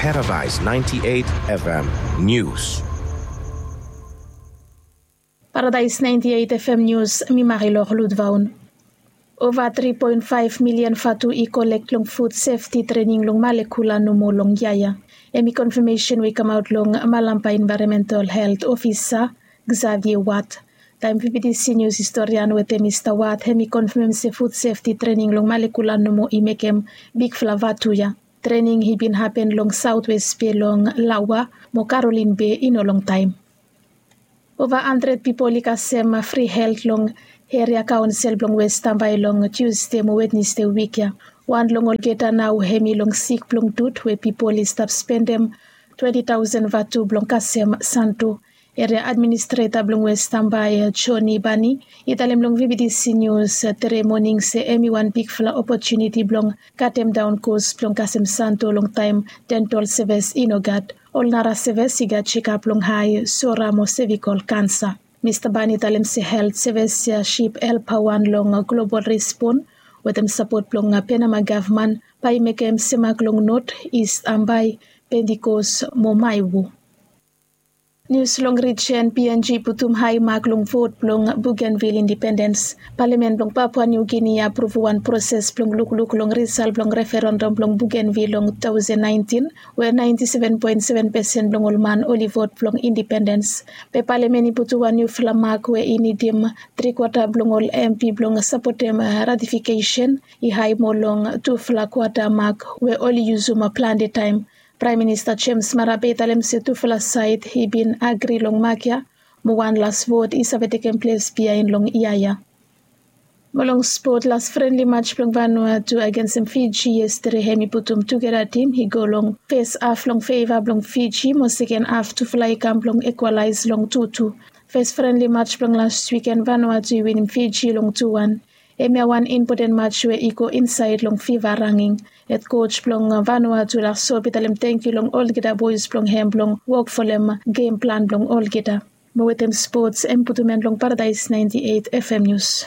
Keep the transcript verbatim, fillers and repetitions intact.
Paradise ninety-eight F M News. Paradise ninety-eight F M News, mi Marilor Ludvaun. Ova tri poen faef milian vatu i kolek long food safety trening long Malekula nomo long yia ya. Hemi konfamesen we i kamaot long Malampa Environmental Health Officer Xavier Watt. Taem V B T C News historian wetem Mista Watt hemi konfamem se food safety trening long Malekula nomo i mekem bigfala vatu ya. Trening i bin hapen long Southwest Bay long Laua mo Caroline Bay i no longtaem. Ova handred pipol i kasem fri helt long eria kaonsel blong West Tambai long Tiusde mo Wednesde wik ya. Wan long olgeta nao hemi long sik blong dut we pipol i stap spendem twenti taosen vatu blong kasem santo. Eria administreta blong West Tambai, Johnny Bani, i talem long V B T C News tere moning se hemi wan bigfala opotuniti blong katem daon kos blong kasem santo long taem dental sevis i no gat. Ol nara sevis i gat jekap long hae, sora mo sevikol kansa. Mista Bani talem se helt sevis ya sip help wan long global respon wetem sapot blong Penama gavman bae i mekem semak long Not, Ist Ambae, Pentikos mo Maewo. Nius long rijen, P N G putum hae mak long vot blong Bougainville indipendens. Palamen blong Papua New Guinea i apruv wan proses blong lukluk long risal blong referendam blong Bougainville long two thousand nineteen, we ninety-seven point seven percent blong ol man oli vot blong indipendens. Be palamen i putum wan niufala mak we i nidim tri kwata blong ol M P blong sapotem ratifikesen, i hae moa long tufala kwata mak we oli yusum plante taem. Praem Minista James Marape i talem se tufala saed i bin agri long mak ya, mo wan las vot i save tekem ples biaen long yia ya. Mo long spot, las frenli maj blong Vanuatu agensem Fiji yestede hemi putum tugeta tim i go long fes haf long feva blong Fiji mo seken haf tufala i kam blong ikwalaes long tu tu. Fes frenli maj blong las wiken Vanuatu i winim Fiji long tu wan. Hemia wan impoten maj we i go insaed long fiva ranging. Hed koj blong Vanuatu Lasob i talem tangkiu long olgeta boes blong hem blong wok folem gem plan blong olgeta. Mo wetem spots, hemi putum en long Paradaes ninety-eight F M News.